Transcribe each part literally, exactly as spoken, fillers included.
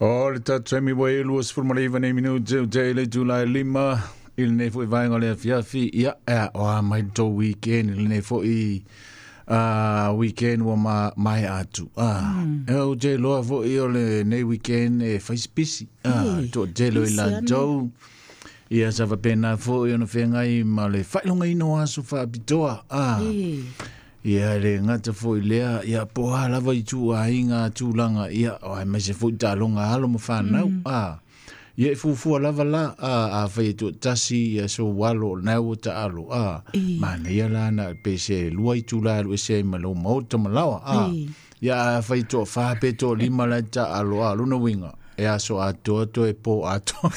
O le tatou ua e lua sefulu ma le iva nei minute o te le itula e lima i lenei fo'i vaega o le afiafi. Ia e aoā mai le tou weekend i lenei fo'i uh, weekend ua ma, maea atu. Ah, mm. E ou te iloa fo'i o lenei weekend e faisipisi. Ah, toatele o i latou. Ia sa faapena fo'i ona feagai ma le faailogaina o aso faapitoa. Ah, ia le gata fo'i lea, ia po a lava i tuuaiga tulaga, ia aemaise fo'i taaloga alo ma fanau. Mm. Ah, ia e fuafua lava la, a afai e toatasi ia sou alo o lena ua taalo. Ah, manaia la na pe se lua itula e alu ese ai ma lou maota ma laoa. Ah, ia afai toafā pe toalima la e taalo, a lona uiga e aso atoa toe po atoa.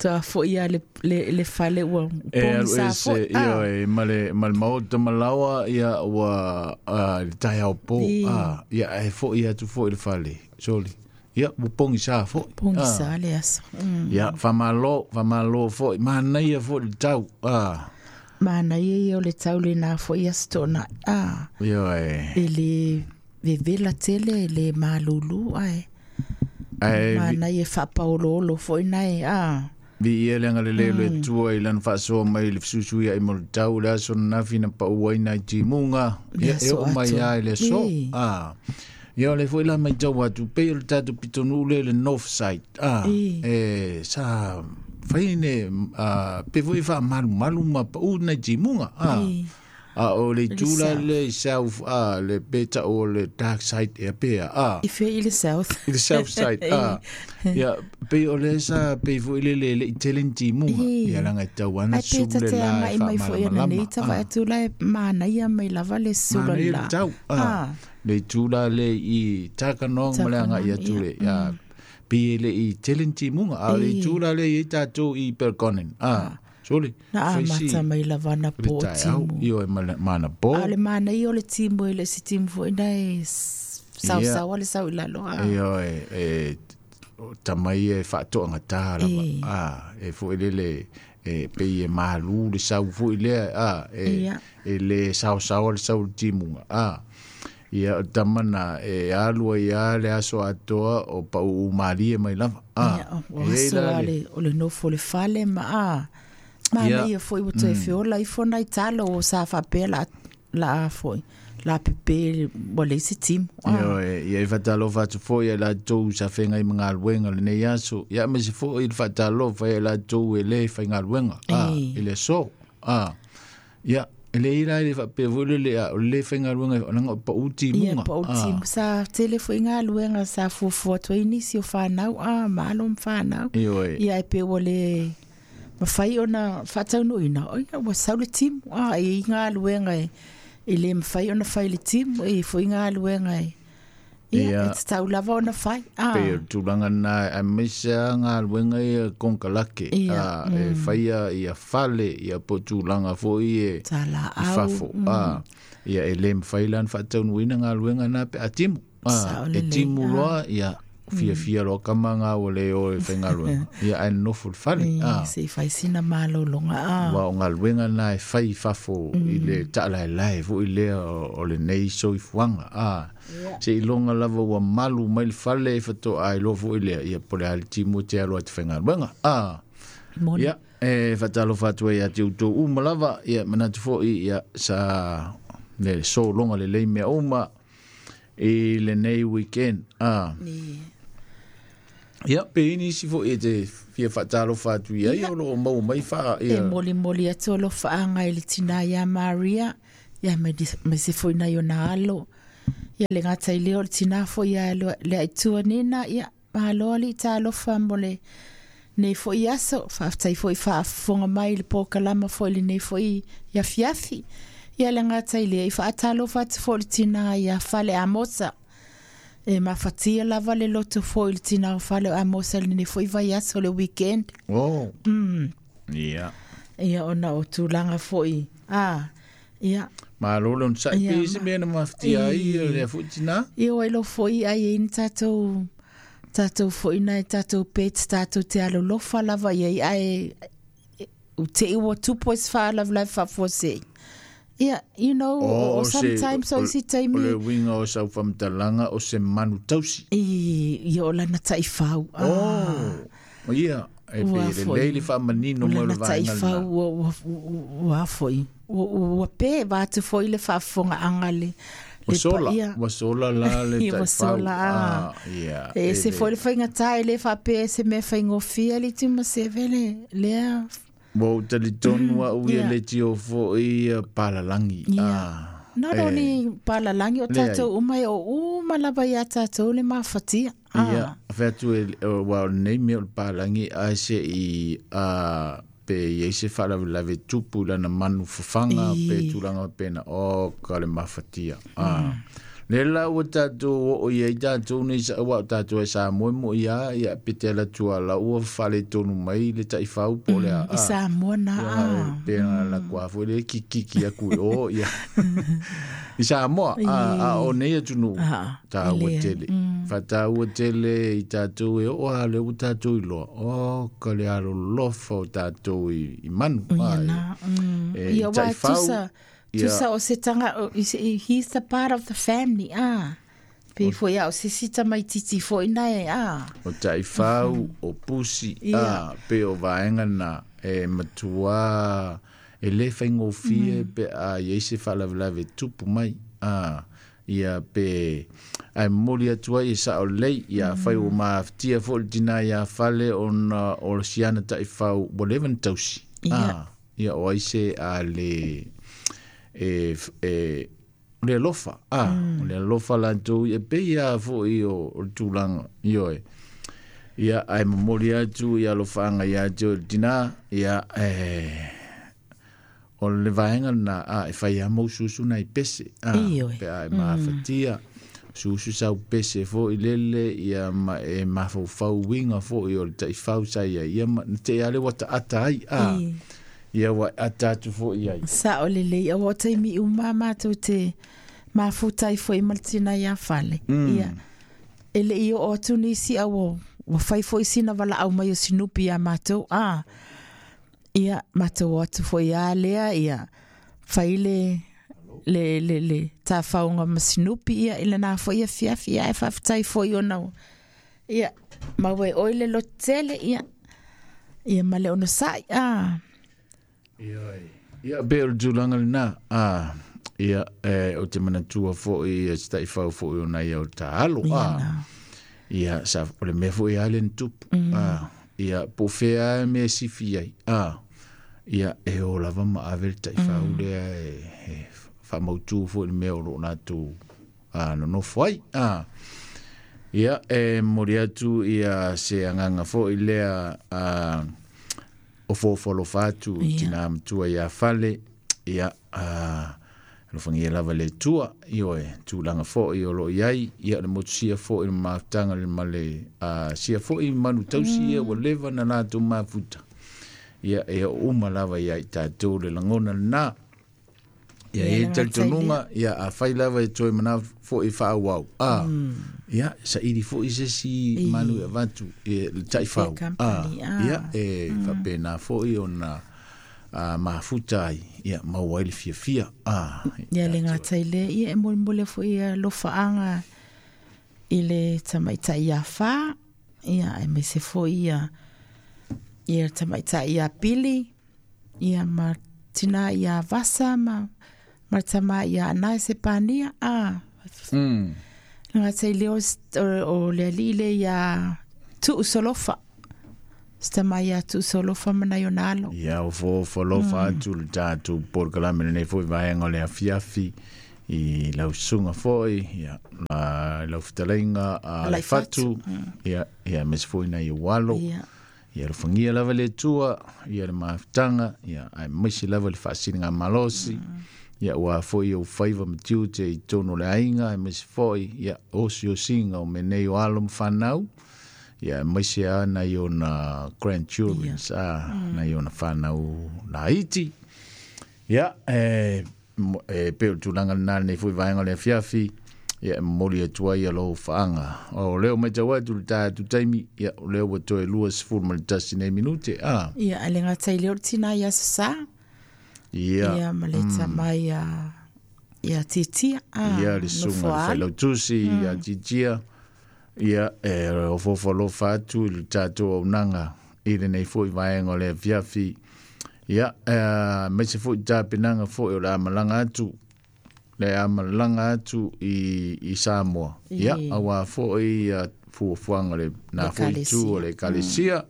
Toa fo'i a le, le, le fale ua e alu ese ia e ma le, ma le maota ma laoa, ia ua le taeao po. Ah, ia e fo'i atu fo'i le fale soli. Ia, ua pogisā fo'i. Pogisā le aso. Mm. Ia, faamālō, faamālō fo'i. Manaia fo'i le tau. Ah. Manaia ia o le tau lenā fo'i aso to'ona'i. Ah. Ia e. E le vevela tele, e le malūlū ae. Ae manaia faapaoloolo fo'i nae. Ah. Viia le agalelei o le Atua i lana faasoa mai le fesuisuia'i mo le tau le aso ananafi na paʻu ai nai timuga. Ia e oo mai lava i le aso. Ah. Ia o le fo'i la maitau atu pei o le tatou pitonuu lea i le north side. Ah, e sa fai ne pe fo'i faamalumalu ma paʻu nai timuga. Ah. A o le itu la le i south, ah, le pe ta'u o le dark side ea pea. Ah. I fea i le south. I le south side. Ah. Ia pei o le sa pei fo'i le le le'i tele ni timuga. Ia laga e tau ana Ai pe sulu le tate la e agai mai fo'i ana nei faamalamalama. tavae Ah. atu la e manaia mai lava le sulu Manaia le la. tau. Ah. Ah. Le itu la le i Takanong ma le agai Takanong, atu ia. le ia pei e le'i tele ni timuga. A o le itu la le i ai tatou i Belconnen. Ah. Soli. Na Faisi amata mai lava na le po o taeao timu. ioe ma le ma ana pō. A o le manaia o le timu e le se timu fo'i na e sausaua le sau i lalo. Ah. Ioe e tama ia e faatoagatā lava. E. Ah, e fo'i lele e pei e malū le sau fo'i lea. Ah, e Ia. e le saosaoa le sau i le timuga. Ah. Ia o le tama na e alu ai lava le aso atoa o paʻuʻu malie mai lava. Ah. Ia, o E i aso la a le le o le nofo le fale ma a. Ia. Manaia fo'i ua toe feola ifo nai talo o sa faapea la la fo'i. La pepe ua leai se timu. Ah. Ioe, ia e faatalofa atu fo'i ai latou sa feagai ma galuega lenei aso. Ia aemaise fo'i le faatalofa ai latou e lē faigaluega. Ah, E. i le aso. Ah. Ia, e leai la e le faapea fo'i le le a o le lē faigaluega laga o paʻu Ia timuga. paʻu Ah. timu sa tele fo'i galuega sa fuafua atu ai nisi o fanau a ma alo ma fanau. Ioe. Ia e pe ua le mafai ona faataunuuina o ia ua sau le timu. Ah, e i galuega e e le mafai ona fai le timu e fo'i galuega e. Ia, Ia. e tatau lava ona fai. Pei o Ah. le tulaga lena aemaise a galuega ia konekarake. Ia, Ah, e faia ia fale ia po o tulaga fo'i e i Talaau. fafo. Ah, ia e lē mafai la ona faataunuuina galuega na pe a timu. Ah, Sao e lelei. timu Ah. loa ia fiafia loa kama ga ua lē o e faigaluega. Ia ae nonofo i le fale. E, Ah. se i fai sina malologa. Ah. Ua o galuega na e fai i fafo i le taʻalaelae fo'i lea o, o lenei soifuaga. Ah. Seiloga lava ua malu mai le fale e fatoʻa iloa fo'i lea ia po o le a le timu e te alo ai te faigaluega. Ah. Moni. Ia, e faatalofa atu ai ia te outou uma lava, ia manatu fo'i ia sa le sologa lelei mea uma i lenei weekend. Ah. Ni. Ia, pe i nisi fo'i e te fia faatalofa atu i ai o loo maua mai faa E ia. molimoli atu alofaaga i le tinā iā Maria, ia mai mai se fo'i nai ona alo. Ia le gata i lea o le tinā fo'i ia le aitua nena, ia malo alii talofa mo le nei fo'i aso, faafetai fo'i faafofoga mai i le polokalama fo'i lenei fo'i afiafi. Ia le gata i lea i faatalofa atu fo'i le tinā ia Fale Amosa. E mafatia lava le loto fo'i le tinā o Fale Amosa lenei fo'i vaiaso le weekend. Oh. Mm. Ia. Ia ona o tulaga fo'i. Ah, ia. Malo le onosai Ia, pe i se ma- mea na mafatia ai E. lea fo'i tinā. Ia ua iloa fo'i ai e ni tatou tatou fo'i nai tatou pet tatou te alolofa lava iai ae u te i ua tupu ai se faalavelave faafuasei. Ia, you know, O, o, o se- sometimes o isi O taimi le uiga o sau faamatalaga o se manu tausi. I, ia o lana taʻifau. Oh, ia, e Ua pe foi. lelei le faamanino O mo le lana vaega taʻifau lena. ua ua ua foi. Ua ua pe va atu foi le faafofogaaga le Ua le sola, paia. ua sola la le Ia, ua taʻifau. sola, ah. Ah, ia, E e se le- foi le faigatā e lē faapea e se mea faigofie le Tumaseve le lea. Ua ou talitonu a'u ia Ia. le tio fo'i ia palalagi. Ia. Ah, Not e, only palalagi o Leai. tatou uma e o uma lava iā tatou le mafatia. Ia, featu e ua o lenei mea o le palagi ae se'i a pe iai se faalavelave tupu i lana manu fafaga I. pe tulaga pena o ka le mafatia. Ah. Le la ua tatou oo i ai tatou nei sa ua o tatou e sa moe mo ia ia pe te ala tua la ua faaletonu mai le taʻifau po o le a I Samoa na ia a. pe la kua foi le kikiki aku i o ia i Samoa a a o nei atunuu Ah, tāua e lea. tele fatāua tele i tatou e oo a le ua tatou iloa o ka le alolofa o tatou i, i manu. Ia Ah, na. Mm. e, Ia i wa taʻifau, tusa ia. tusa o se tanga o- is- he's the part of the family. Ah. Pe foi a o se sita mai titi foi na e ah. O taʻifau o pusi Ia. a pe o vaega na e matuā e lē faigofie pe a iai se faalavelave tupu mai a ia pe ae momoli atu ai e saʻo lelei ia afai ua mafatia foʻi le tinā iā fale ona o siana taʻifau ua leva na tausi. Ia. A ia o ai se a le e e o le alofa a o le alofa latou e pei a foʻi o o le tulaga ioe ia ae momoli atu ia alofaaga iā te oe le tinā ia e o le vaega lena a e fai a mau susu nai pese a Ioe. pe a e mafatia susu sau pese foʻi lele ia ma e mafaufau uiga foʻi o le taʻifau sa ia ia ma na te ale ua taʻata ai a I. ia ua ata atu foʻi ai. Sa o le lei o taimi uma mātou te mafutai foi ma le tina ia fale. Mm. Ia. E le i o atu nisi au o ua fai foi sina wala au mai o sinupi ia mātou. Ah. Ia, mātou o atu foi a lea, ia. Fai le, le, le, le tāwhaunga ma sinupi, ia, i le nā foi ia fiafi, ia, e whawhitai foi o nau. Ia, maue oi le lotele, ia. Ia, ma le ono sai, ah. Ioe. Ia pe o le tulaga lenā a ia e o te manatua foʻi ia se taʻifau foʻi ona ia o le tāalo Ia a nā. ia sa o le mea foʻi a le na tupu a ia po o fea e mea sifi ai a ia e o lava ma ave le taʻifau lea e, e faamautū foʻi le mea o loo latou a nonofo ai a ia e momoli atu ia se agaga foʻi lea a o fofo alofa atu i Ia. tinā matua iā fale ia a alofagia lava le Atua ioe tulaga foʻi o loo iai ia o le motusia foʻi le mafutaga le ma le a sia foʻi manu tausi ia ua leva na latou mafuta ia e oo uma lava ia i tatou le lagona lenā ia Ia, e le gatai talitonuga ia afai lava e toe mana foʻi faaauau a ia saʻili foʻi se isi manu e avatu e le taʻifau Fair a company, ah. ia e faapena foʻi ona a mafuta ai ia maua ai le fiafia a Ia le gatai lea, ia e molemole foi ia lofaaga i le tamaitai ia whā, ia e mese foi ia ia tamaitai ia Pili, ia ma tina ia Vasa ma ma tama ia Anae Sepania, a mm. le gatai lea o, s- o, o le alii le ia Tuu Solofa. Tama ia Tuu Solofa ma nai ona alo. Ia o fofo alofa atu le tatou polokalame lenei foʻi vaega o le afiafi i lausuga foʻi ia la lau fetalaiga a le fatu ia ia mese foʻi nai ou alo Ia. ia alofagia lava le Atua ia le mafutaga ia ae maise lava le faasiliga malosi ia ua foʻi ou faiva ma tiute i tonu o le aiga ae maise foʻi ia osiosiga o menei o alo ma fanau ia maise a nai ona grandchildren a nai ona fanau laiti ia e mo- e pe o le tulaga lenā lenei foʻi vaega o le afiafi ia e momoli atu ai ia lou faaga o lea o matau atu le tatou taimi ia o lea ua toe lua sefulu ma le tasi nei minute a Ia, a le gatai lea o le tina ia Sasā. Ia. Ia ma le tama ia ia Titia. Ah, Ia le susuga i le failautusi ia Titia. Ia e ofoofo alofa atu i le tatou auaunaga i lenei foi vaega o le afiafi. Ia aemaise foi tapenaga foi o le a malaga atu le a malaga atu i, i Samoa. Ia auā foi ia fuafuaga o lena foi itu o le ekalesia.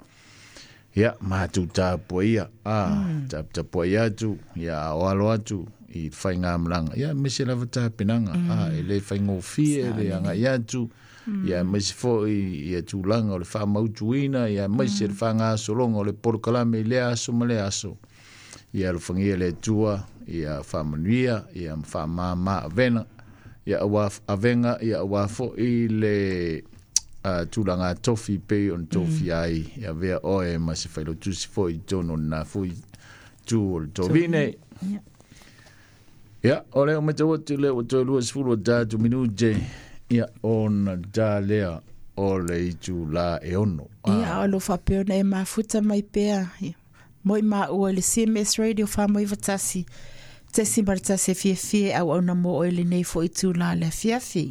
Ia matou tapuaia, a taputapuai atu, ia aoalo atu i faigamalaga. Ia aemaise lava tapenaga, a e le faigofie le agai atu. Ia aemaise foi ia tulaga o le faamautuina, ia aemaise le faagasologa o le polokalame i lea aso ma lea aso. Ia alofagia le Atua, ia faamanuia, ia ma faamama avena, ia auā avega, ia auā foi le uh, tulaga tofi pei ona tofia ai, ia avea oe ma se failautusi foi i totonu o lena foi tu o le tovine. Ia. Ia, o lea ua matau atu lea ua toe luasefulu o tatou minute, ia ona ta lea o le itulā e ono. Ia, o lo faapea ona e mafuta mai pea. Ia. Moi maua i le C M S Radio whamoivatasi. Tesi ma le tasi e fiafia e auauna mo oe lenei foi itulā le afiafi.